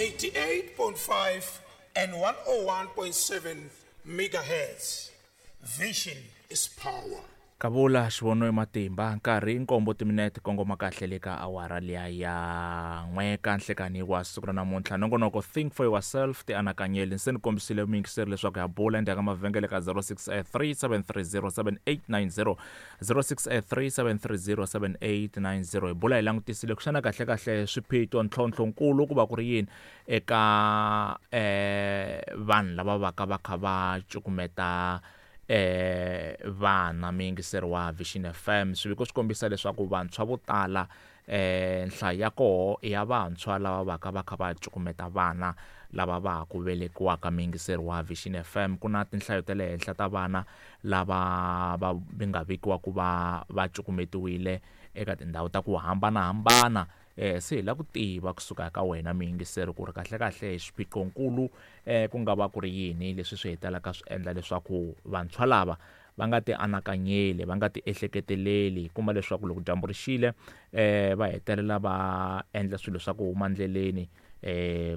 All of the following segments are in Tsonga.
88.5 and 101.7 megahertz. Vision is power. Kavula xivono matimba nkarhi nkombo timinete kongoma kahle le ka awara liya ya n'we ka nhlekani wa siku ra namuntlha. Nongonoko Think for Yourself, ti anakanyeli. Se ni kombisile muyingiseri leswaku ya bula endzhaku ka mavhengele ka 0637307890, 0637307890. Hi bula hi langutisile ku xana kahle kahle swiphiqo, ntlhontlho nkulu ku va ku ri yini eka vanhu lava va ka va kha va cukumeta vana. Muyingiseri wa Vision FM, swiviko swi kombisa leswaku vantshwa vo tala, nhlayo ya koho ya vantshwa lava va ka va kha va cukumeta vana lava va ha ku velekiwaka. Muyingiseri wa Vision FM, ku na tinhlayo ta le henhla ta vana lava va nga vekiwa ku va va cukumetiwile eka tindhawu ta ku hambanahambana. Se hi lava ku tiva kusuka ka wena muyingiseri ku ri kahle kahle xiphiqonkulu ku nga va ku ri yini leswi swi hetelelaka swi endla leswaku vantshwa lava va nga ti anakanyeli, va nga ti ehleketeleli, kuma leswaku loko dyambu ri xile va hetelela va endla swilo swa ku huma ndleleni.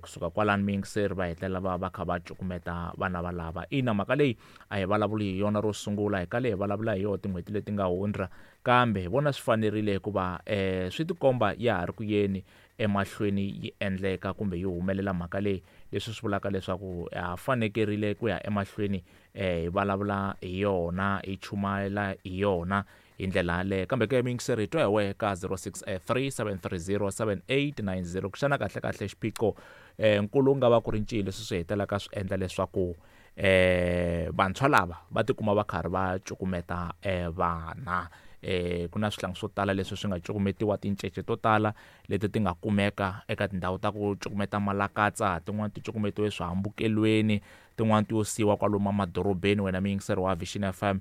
Kusuka kwalani muyingiseri va hetelela va va kha va cukumeta vana valava. Ina, mhaka leyi a hi vulavuli hi yona ro sungula, hi kale hi vulavula hi yona tin'hweti leti nga hundza, kambe hi vona swi fanerile hikuva swi tikomba ya ha ri ku yeni emahlweni yi endleka kumbe yi humelela mhaka leyi, leswi swi vulaka leswaku ha fanekerile ku ya emahlweni hi vulavula hi yona, hi chumayela hi yona hi ndlela yaleyo. Kambe ke muyingiseri, hi twa hi wehe ka 0637307890 ku xana kahle kahle xiphiqo nkulu nga va ku ri ncini leswi swi hetelelaka swi endla leswaku vantshwa lava va tikuma va karhi va cukumeta vana. Ku na swihlangi swo tala leswi swi nga cukumetiwa, tincece to tala leti ti nga kumeka eka tindhawu ta ku cukumeta malakatsa, tin'wani ti cukumetiwe swihambukelweni, tin'wani ti yo siyiwa kwalomu emadorobeni. Wena muyingiseri wa Vision FM,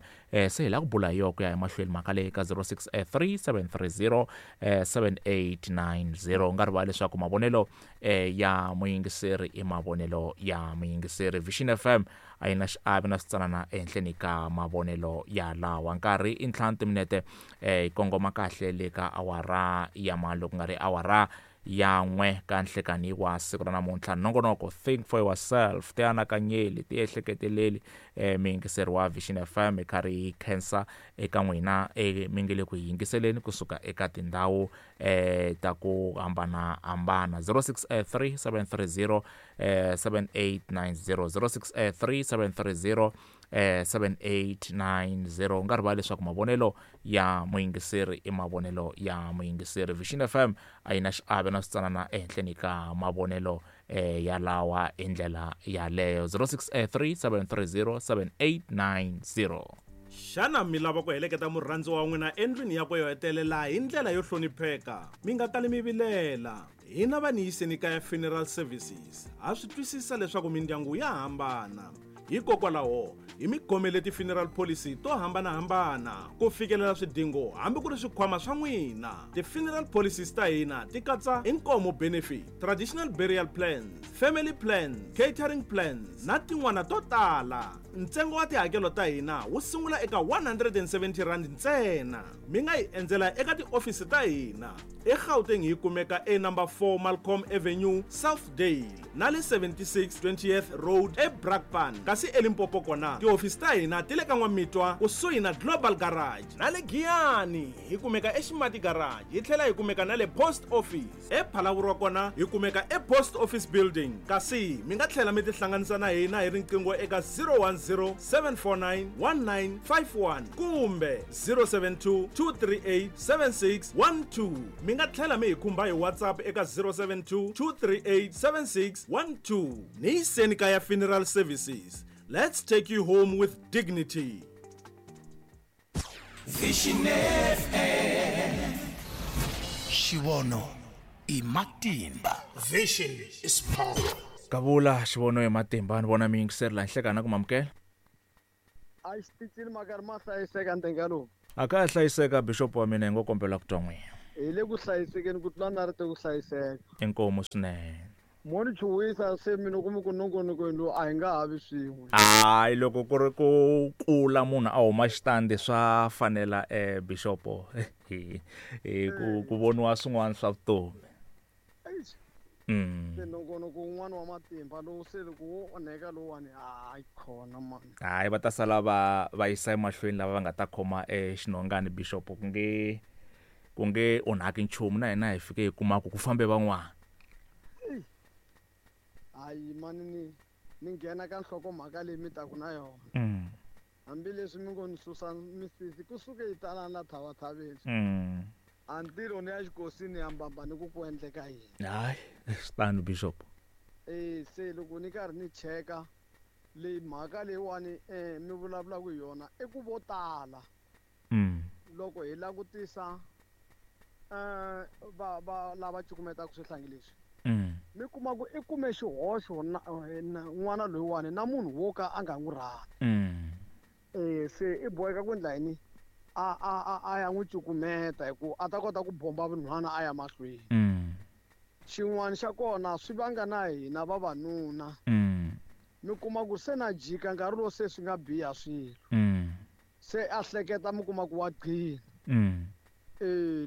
se hi lava ku bula hi yona ku ya emahlweni mhaka leyi ka 063730 7890. U nga rivali leswaku mavonelo ya muyingiseri i mavonelo ya muyingiseri. Vision FM a yi na xiave na switsanana ehenhleni ka mavonelo ya lawa. Nkarhi i 5 timinete hi kongoma kahle le ka awara ya malo, ku nga ri awara ya 1 ka nhlekani wa siku ra namuntlha. Nongonoko Think for Yourself, ti anakanyeli, ti ehleketeleli. Muyingiseri wa Vision FM, hi karhi hi khensa eka n'wina mi nge le ku hi yingiseleni kusuka eka tindhawu ta ku hambanahambana. 063730 7890, 063730 7890. U nga rivali leswaku mavonelo ya muyingiseri i mavonelo ya muyingiseri. Vision FM a yi na xiave na switsanana ehenhleni ka mavonelo ya lawa hi ndlela yaleyo. 0637307890. Xana mi lava ku heleketa murhandzi wa n'wina endlwini yakwe yo hetelela hi ndlela yo hlonipheka? Mi nga kali mi vilela. Hina va Niyiseni Kaya Funeral Services ha swi twisisa leswaku mindyangu ya hambana. Hikokwalaho hi mi khomele ti-funeral policy to hambanahambana ku fikelela swidingo hambi ku ri swikhwama swa n'wina. Ti-funeral policies ta hina ti katsa inkomo benefit, traditional burial plans, family plans, catering plans na tin'wana to tala. Ntsengo wa tihakelo ta hina wu sungula eka 170 rand ntsena. Mi nga hi endzela eka tiofisi ta hina eGauteng, hi kumeka e number 4 Malcolm Avenue, Southdale, na le 76 20th Road eBrakpan. Kasi eLimpopo kona tihofisi ta hina ti le ka N'wamitwa kusuhi na Global Garage, na le Giyani hi kumeka eXimati Garage, hi tlhela hi kumeka na le Post Office. ePhalaborwa kona hi kumeka ePost Office Building. Kasi mi nga tlhela mi tihlanganisa na hina hi riqingho eka 010 749 1951 kumbe 072 238 7612. Mi nga tlhela mi hi khumba hi WhatsApp eka 072 238 7612. Niyiseni Kaya Funeral Services, let's take you home with dignity. Vision FM, xivono i matimba. Vision is power. Kavula xivono hi matimba. Ni vona muyingiseri laha nhlekana ku mamukela. A xitichini makari ma hlayiseka ntenga lowu. A ka ha hlayiseka, bishop wa mina, hi ngo kombela ku twa n'wina. Hi le ku hlayisekeni ku tlula na ri te ku hlayiseka. Inkomu swinene. Mo ni chuhisa se mina kumi ku nongonokweni lowu a hi nga ha vi swin'we. Hayi, loko ku ri ku kula munhu a huma xitandi swa fanela bishopo hi ku voniwa swin'wana swa vutomi. Eish. Se nongonoko wun'wana wa matimba lowu se loko wo onheka lowuwani, hayi khona mani. Hayi, va ta sala va yisa emahlweni lava va nga ta khoma exinhongani bishop, ku nge onhaki nchumu. Na hina hi fike hi kuma ku fambe van'wana. Hayi mani, ni nghena ka nhlokomhaka leyi mi taku na yona. Hambileswi mi ngo ni susa misisi kusuke yi talana la thavathaveni. A ntirho ni ya xikosini ya mbamba ni ku endleka yini. Hayi, swi tano bishop. E se loko ni karhi ni cheka leyi mhaka leyiwani, mi vulavulaka hi yona, i ku vo tala loko hi langutisa va lava cukumetaka swihlangi leswi, mi kuma ku i kume xihoxo na n'wana loyiwani na munhu wo ka a nga n'wi rhandzi. Se i boheka ku endla yini? A ya n'wi cukumeta hi ku a ta kota ku bomba vunhwana a ya mahlweni. Xin'wana xa kona swi vanga na hina vavanuna. Mi kuma ku se na jika nkarhi lowu se swi nga biha swilo. Se a hleketa, mi kuma ku wa gcina.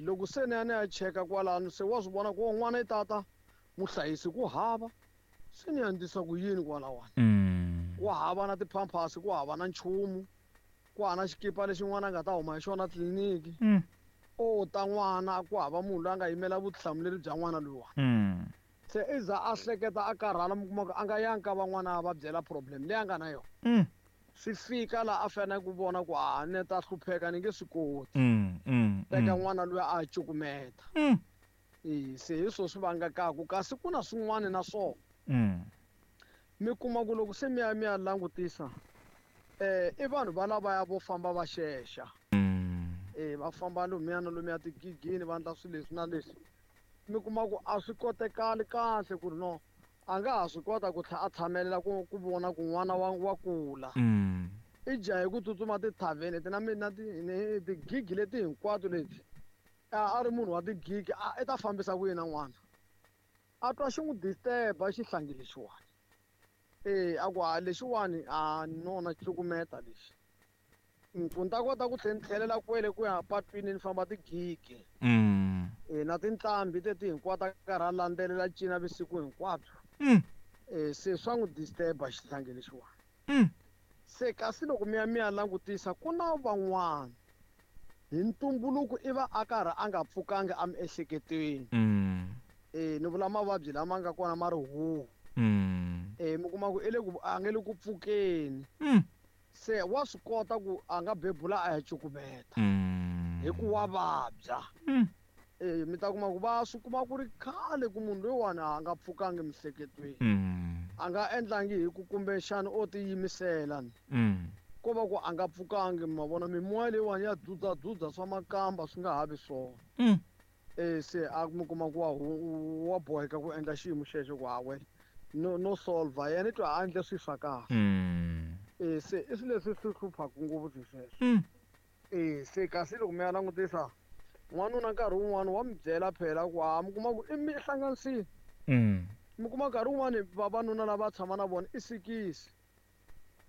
Loko se ni ya ni ya cheka kwalano, se wa swi vona ku n'wana i tata muhlayisi ku hava, se ni ya ndlisa ku yini kwalawani? Ku hava na ti-Pampers, ku hava na nchumu, ku hava na xikipa lexi n'wana a nga ta huma hi xona tliliniki. O ta n'wana, ku hava munhu loyi a nga yimela vutihlamuleri bya n'wana loyiwani. Se i za a hleketa, a karhala, mi kuma ku a nga yangi ka van'wana va byela problem leyi a nga na yona. Swi fika laha a fanele ku vona ku a ne ta hlupheka, ni nge swi koti. Teka n'wana loyi a cukumeta. E se hi swo swi vangakaku, kasi ku na swin'wana na swona. Mi kuma ku loko se mi ya langutisa, i vanhu va lavaya vo famba va xexa. Va famba lomuya na lomuya tigigini, va endla swilo leswi na leswi. Mi kuma ku a swi kotekali kahle ku ri no a nga ha swi kota ku tlhela a tshamelela ku vona ku n'wana wa kula. I jahe ku tsutsuma tithavheni ti na na tigigi leti hinkwato leti. A ri munhu wa tigigi, a i ta fambisa ku yini na n'wana? A twa xi n'wi disturb-a xihlangi lexiwani. E a ku a lexiwani a nona cukumeta lexi, ku ni ta kota ku tlhela ni tlhelela kwele ku ya patwini ni famba tigigi. E na tinqambi teti hinkwato a karhi a landzelela cina vusiku hinkwabyo. E se swa n'wi disturb-a xihlangi lexiwani. Se kasi loko mi ya langutisa, ku na van'wana hi ntumbuluko i va a karhi a nga pfukangi emiehleketweni. E ni vula mavabyi lama nga kona ma ri huhu. E mi kuma ku i le ku a nge le ku pfukeni. Se wa swi kota ku a nga bebula a ya cukumeta. Hi ku wa vabya. E mi ta kuma ku va swi kuma ku ri khale ku munhu loyiwani a nga pfukangi emiehleketweni. A nga endlangi hi ku kumbexana o tiyimisela ni. Ko va ku a nga pfukangi, ma vona mimoya leyiwani ya dzudzadzudza swa makamba swi nga ha vi swona. E se a mi kuma ku wa boheka ku endla xiyimo xexo ku hawe no solver yena i twa a endle swilo swa kahle. E se i swilo leswi swi hluphaka ngopfu swilo sweswo. E se kasi loko mi ya langutisa n'wanuna, nkarhi wun'wani wa mi byela phela ku ha mi kuma ku i mi hlanganisile. Mi kuma nkarhi wun'wani vavanuna lava tshama na vona i sikisi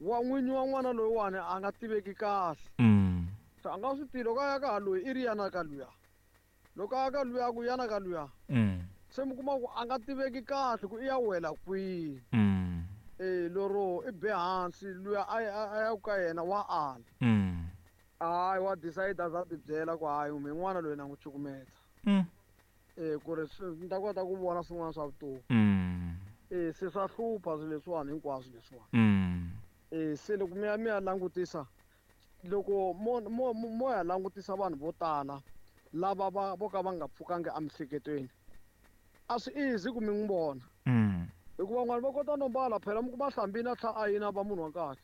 wa n'winyi wa n'wana loyiwani a nga tiveki kahle. Se a nga swi tivi loko a ya ka ha loyi i ri yana ka luya, loko a ya ka luya ku yana ka luya. Se mi kuma ku a nga tiveki kahle ku i ya wela kwihi. E lero i be hansi luya a ya ka yena wa ala. Hayi, wa decide za ti byela ku hayi, mi n'wana loyi na n'wi cukumeta. E ku ri ni ta kota ku vona swin'wana swa vutomi. E se swa hlupha swilo leswiwani hinkwaswo leswiwani. E se loko mi ya langutisa, loko mo ya langutisa vanhu vo tala lava va vo ka va nga pfukangi emiehleketweni, a swi easy ku mi n'wi vona. Hikuva van'wana va kota no mbala phela, mi kuma hlambini a tlhela a yina va munhu wa kahle.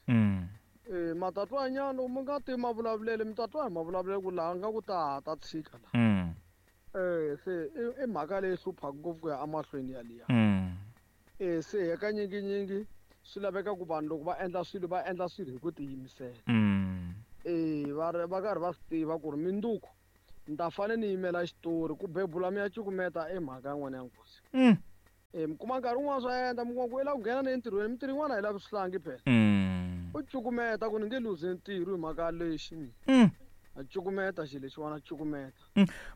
E matatwa nyana loko mi nga tivi mavulavulelo, mi ta twa hi mavulavulelo ku laha nga ku ta tshika la. Se i mhaka leyi hluphaka ngopfu ku ya emahlweni yaliya. E se hakanyinginyingi swi laveka ku vanhu loko va endla swilo, va endla swilo hi ku tiyimisela. E va ri va karhi va swi tiva ku ri minduku ni ta fane ni yimela xitori ku bebula mi ya cukumeta i mhaka yin'wana ya nghozi. E mi kuma nkarhi wun'wana swa endla, mi kuma ku i lava ku nghena na entirhweni, mintirho yin'wana a yi lavi swihlangi phela. U cukumeta ku ni nge luzi ntirho hi mhaka lexi ni. A cukumeta xilo lexiwani, a cukumeta.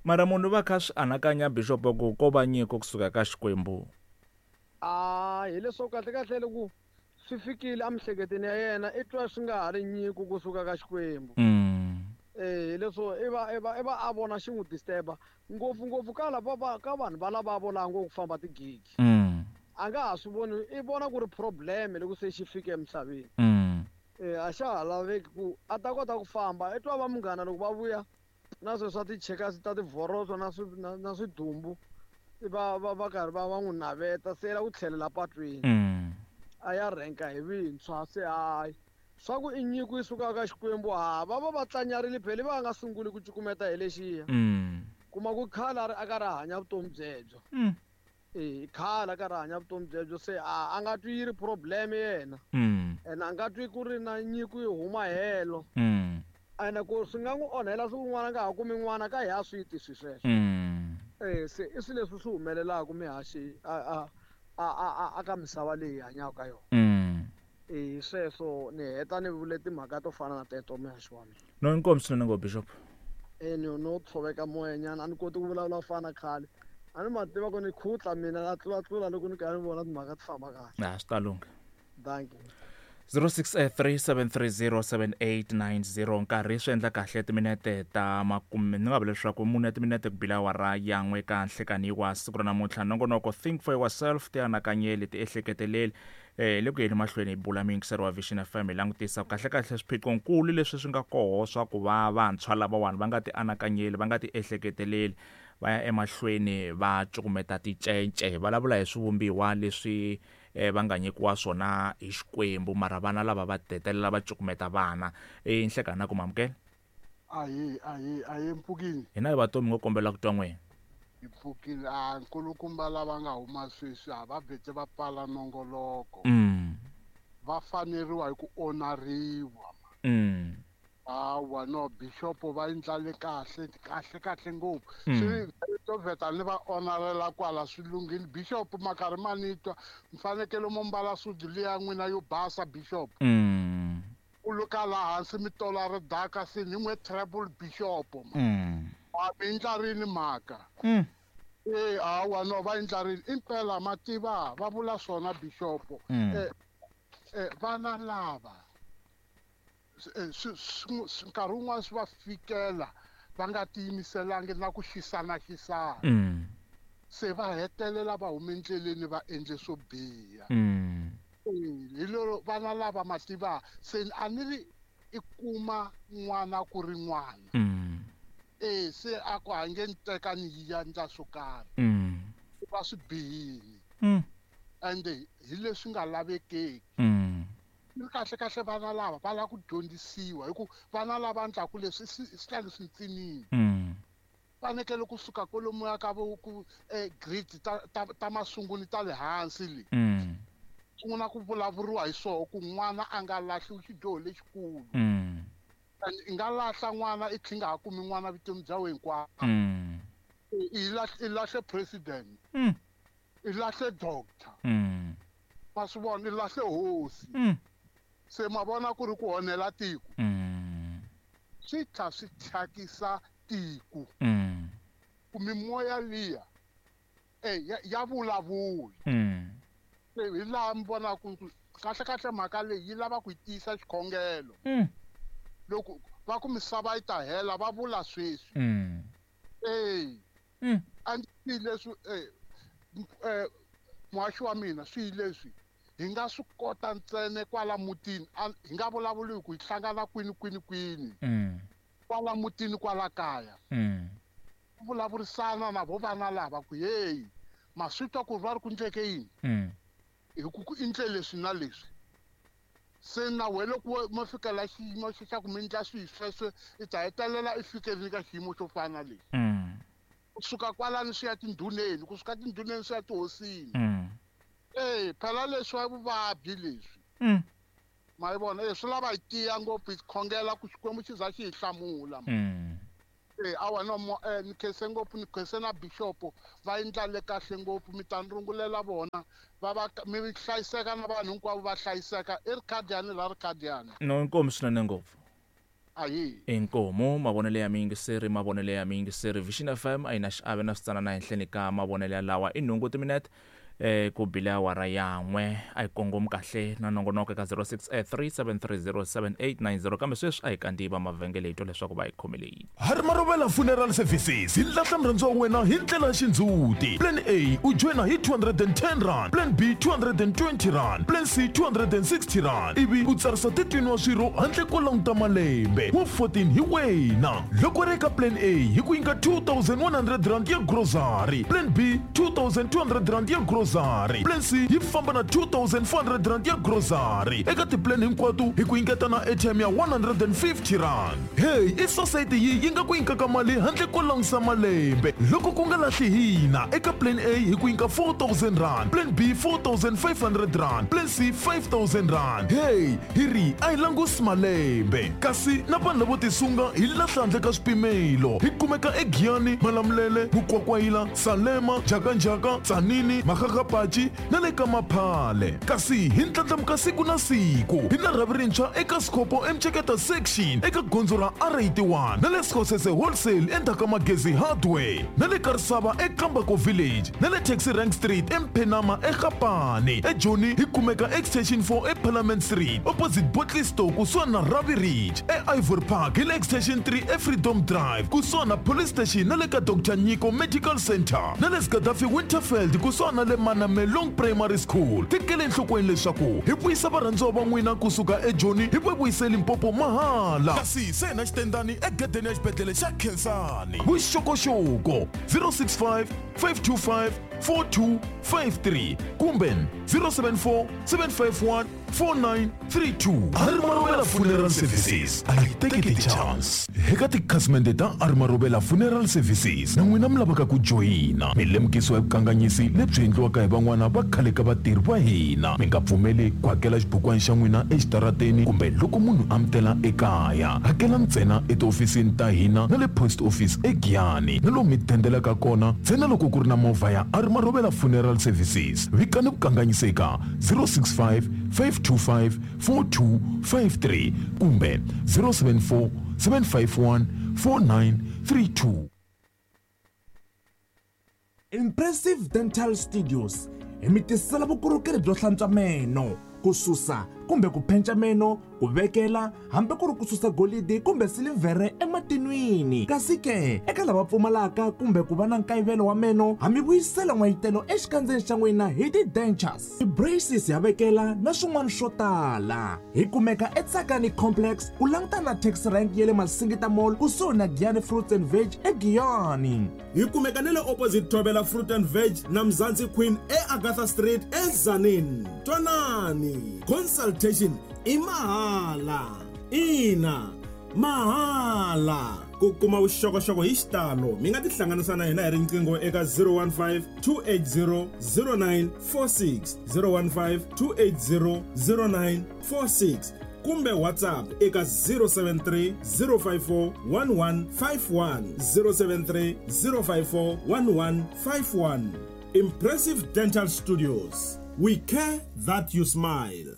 Mara munhu va kha swi anakanya, bishop, ku ko va nyiko kusuka ka Xikwembu. A hileswaku kahle kahle loko swi fikile emiehleketweni ya yena i twa swi nga ha ri nyiko kusuka ka Xikwembu. Hileswo i va a vona xi n'wi disturb-a ngopfungopfu ka lava ka vanhu va lava vo ku famba tigigi. A nga ha swi voni, i vona ku ri problem loko se xi fike emisaveni. A xa ha laveki ku a ta kota ku famba, i twa va munghana loko va vuya na sweswo swa tichekasi ta tivhoroso na swidumbu va karhi va n'wi naveta se la ku tlhelela patwini. A ya rhenka hi vintshwa se hayi swa ku i nyiko yi sukaka ka Xikwembu, ha va tlanyarile phela va nga sunguli ku cukumeta hi lexiya. Kuma ku khale a karhi a hanya vutomi byebyo. Khale a karhi a hanya vutomi byebyo se a nga twi yi ri problem yena. Ene a nga twi ku ri na nyiko yi huma helo. Ene ku swi nga n'wi onhela siku rin'wana a nga ha kumi n'wana ka hi ha swi ti swi sweswo. Se i swilo leswi swi humelelaka mihaxi a ka misava leyi hi hanyaka ka yona. Sweswo ni heta ni vule timhaka to fana na teto mihaxi wa mina. No inkomu swinene ngopfu Bishop. No tshoveka moya nyana, a ni koti ku vulavula ku fana na khale. A ni ma tiva ku ni khutla mina na tlulatlula loko ni karhi ni vona timhaka ti famba kahle. A swi ta lungha. Thank you. 0637307890 nkarhi swi endla kahle timinete ta makume ni nga vula leswaku mune ya timinete ku bila awara yan'we ka nhlekani wa siku ra namuntlha. Nongonoko Think for Yourself, tianakanyeli, tiehleketeleli. Le ku yeni mahlweni hi bula muyingiseri wa Vision FM hi langutisa kahle kahle swiphiqonkulu leswi swi nga koho swa ku va vantshwa lavawani va nga tianakanyeli, va nga tiehleketeleli, va ya emahlweni va cukumeta ticence, vulavula hi swivumbiwa leswi va nga nyikiwa swona hi Xikwembu, mara vana lava va tetelela va cukumeta vana. Nhlekani ku mamukela. Ahi mpfukini. Hina hi vatomi ngo kombela ku twa n'wina. Hi pfukile a nkulukumba lava nga huma sweswi a va vhete va pfala nongoloko. Va faneriwa hi ku onariwa. Hawa no Bishop va endlale kahle kahle kahle ngopfu. Swi to vheta ni va onarela kwala swi lunghile. Bishop makarhi ma ni twa mfanekelo mo mbala sudu liya n'wina yo basa Bishop. U luka laha hansi mi tola ridaka se ni n'we treble Bishop. A mi endla rini mhaka? Hawa no va endla rini impela mativa va vula swona Bishop. Vana lava nkarhi wun'wana swi va fikela va nga tiyimiselangi na ku xisana. Se va hetelela va hume endleleni va endle swo biha. Hi lero vana lava mativa se a ni ri i kuma n'wana ku ri n'wana. Se a ku hange ni teka ni yi endla swo karhi. Va swi bihile. Ende hi leswi nga lavekeki. Kahle kahle vana lava va lava ku dyondzisiwa hi ku vana lava endlaku leswi swi swi ntsinini. Fanekele kusuka kwalomuya ka vo ku grade ta masunguli ta le hansi le. Sungula ku vulavuriwa hi swoho ku n'wana a nga lahliwi xidyoho lexikulu. I nga lahla n'wana i tlhe nga ha kumi n'wana vutomi bya wena hinkwabyo. I lahle president. I lahle doctor. Ma swi vona i lahle hosi. Se ma vona ku ri ku onhela tiko. Swi tlha swi thyakisa tiko. Ku mimoya liya ya vulavula. Hi laha mi vonaka ku kahle kahle mhaka leyi yi lava ku yi tiyisa xikhongelo. Loko va ku misava yi ta hela va vula sweswi. A ndzi leswi muhaxi wa mina swi leswi hi nga swi kota ntsena kwala mutini, hi nga vulavuli ku hi hlangana kwini kwini kwini. Kwala mutini kwala kaya. Ku vulavurisana na vo vana lava ku hey ma swi twa ku va ri ku ndleke yini. Hi ku endle leswi na leswi. Se na wena loko mo fikela xiyimo xa ku mi endla swilo sweswo i ta hetelela i fikerile ka xiyimo xo fana na lexi. Kusuka kwalani swi ya tindhuneni, kusuka tindhuneni swi ya tihosini. Phela leswi wa vuvabyi leswi. Ma yi vona, swi lava hi tiya ngopfu hi khongela ku Xikwembu xi za xi hi hlamula. Awa no ni khense ngopfu, ni khense na Bishop va endlale kahle ngopfu, mi ta ni rungulela vona va mi hlayiseka na vanhu hinkwavo va hlayiseka. I rikhadiyani la rikhadiyani. No inkomu swinene ngopfu. Ayi. Inkomu mavonelo ya miyingiseri, mavonelo ya miyingiseri. Vision FM a yi na xiave na switsanana henhleni ka mavonelo ya lawa. I nhungu timinete eh ku bile awara yan'we a hi kongomi kahle na nongonoko eka 0637307890 kambe sweswi a hi kandziyi va mavhengele hi twa leswaku va hi khomele yini. Hari Marovela Funeral Services hi lahla murhandziwa wa wena hi ndlela ya xindzhuti. Plan A u joyina hi R210, Plan B R220, Plan C R260 ivi u tsarisa 13 wa swirho handle ko languta malembe. Wa 14 hi wena. Loko ri eka Plan A hi ku nyika R2100 ya grocery, Plan B R2200 ya grocery, Plan C yi famba na R2400 ya grocery. Eka tiplan hinkwato hi ku nyiketa na airtime ya R150. Hey, i sosayiti yi yi nga ku nyikaka mali handle ko langusa malembe. Loko ku nga lahli hina, eka Plan A hi ku nyika R4000, Plan B R4500, Plan C R5000. Hey, hi ri a hi langusi malembe. Kasi na vanhu lavo tisunga hi lahla handle ka swipimelo. Hi kumeka eGiyani, Malamulele, Mukwakwayila, Salema, Njhakanjhaka, Tzaneen, Makgakgapachi na le ka Maphale. Kasi hi ndlandlamuka siku na siku. Hi na rhavi rintshwa eka Sekgopo eMtsheketa Section eka gondzo ra R81 na le Sekgosese Wholesale endzhaku ka Magezi Hardware na le Karisava eKambako Village na le Taxi Rank Street eMphenama eGapane. EJoni hi kumeka Extension 4 eParliament Street opposite Bottle Store kusuhani na Ravi Ridge. EIvory Park hi le Extension 3 eFreedom Drive kusuhani na Police Station na le ka Dr Nyiko Medical Centre na le Gaddafi Winterveld kusuhani na le Manamelong Primary School. Tekela enhlokweni leswaku hi vuyisa varhandziwa va n'wina kusuka eJoni hi va vuyise Limpopo mahala. Kasi se hi na xitendani egedeni ya xibedhlele xa Khensani. Vuxokoxoko 065 525 4253 kumbe 074 751 4932. Arimarovela Funeral Services a yi teki ti-chance. Eka tikhasimende ta Arimarovela Funeral Services na n'wina mi lavaka ku joyina, mi lemukisiwa hi vukanganyisi lebyi endliwaka hi van'wana va khale ka vatirhi va hina. Mi nga pfumeli ku hakela xibukwana xa n'wina exitarateni kumbe loko munhu a mi tela ekaya. Hakela ntsena etihofisini ta hina na le post office eGiyani na lomu mi dendelaka kona ntsena loko ku ri na movha ya Arimarovela Funeral Services. Vikani vukanganyisi eka 065 525 4253 kumbe 074 751 4932. Impressive Dental Studios hi mi tisela vukorhokeri byo hlantswa meno, ku susa kumbe ku phenca meno, ku vekela hambi ku ri ku susa golidi kumbe silivhere ematinwini. Kasi ke eka lava pfumalaka kumbe ku va na nkayivelo wa meno, ha mi vuyisela n'wayitelo exikandzeni xa n'wina hi ti-dentures, ti-braces ya vekela na swin'wana swo tala. Hi kumeka eTsakani Complex ku langutana na taxi rank ya le Masingita Mall kusuhi na Giyani Fruits and Veg eGiyani. Hi kumeka na le opposite Thobela Fruit and Veg na Mzansi Queen eAgatha Street eTzaneen. Twanani, consultation i mahala. Ina, mahala. Ku kuma vuxokoxoko hi xitalo mi nga tihlanganisa na hina hi riqingho eka 015 280 0946, 015 280 0946 kumbe WhatsApp eka 073 054 1151, 073 054 1151. Impressive Dental Studios, we care that you smile.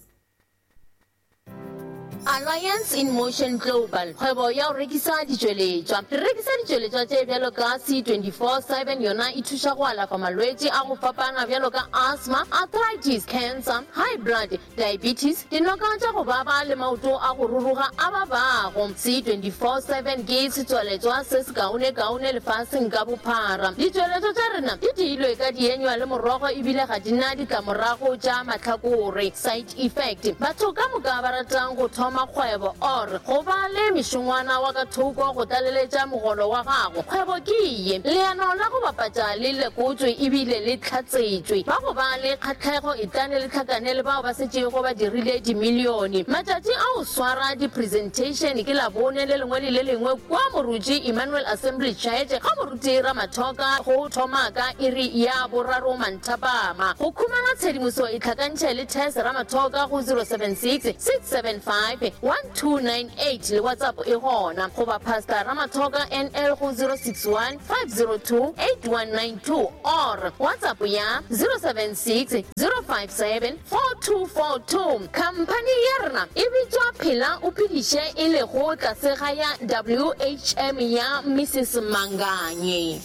Alliance in Motion Global, kgwebo ya go rekisa ditšweletšwa. Re rekisa ditšweletšwa tše bjalo ka C24/7, yona e thuša go alafa malwetši a go fapana bjalo ka asthma, arthritis, cancer, high blood, diabetes, dinoka tša go baba le maoto a go ruruga a babago. C24/7 ke setswaletšwa se sekaonekaone lefaseng ka bophara. Ditšweletšwa tša rena di diilwe ka dienywa le morogo ebile ga di na ditlamorago tša mahlakore, side effect. Batho ka moka ba ratang go thoma kgwebo or go ba le mešongwana wa ka thoko go tlaleletša mogolo wa gago, kgwebo ke ye. Leano la go bapatša le lekotšwe ebile le hlatsetšwe. Ba go ba le kgahlego etlane le hlakane le bao ba setšego ba dirile dimilione. Matšatši a go swara di-presentation ke Labone le lengwe le le lengwe kua Moruti Emmanuel Assembly Church ga Moruti Ramathoka go thoma ka iri ya boraro manthapama. Go khumana tshedimoso itlhakantšhe le Tess Ramathoka go 076 675 1298 le WhatsApp e gona, goba Pastor Ramathoka NL go 061 502 8192 or WhatsApp ya 076 057 4242. Khamphani ya rena e bitšwa Phela o Phediše e lego tlase ga ya WHM ya Mrs Manganye.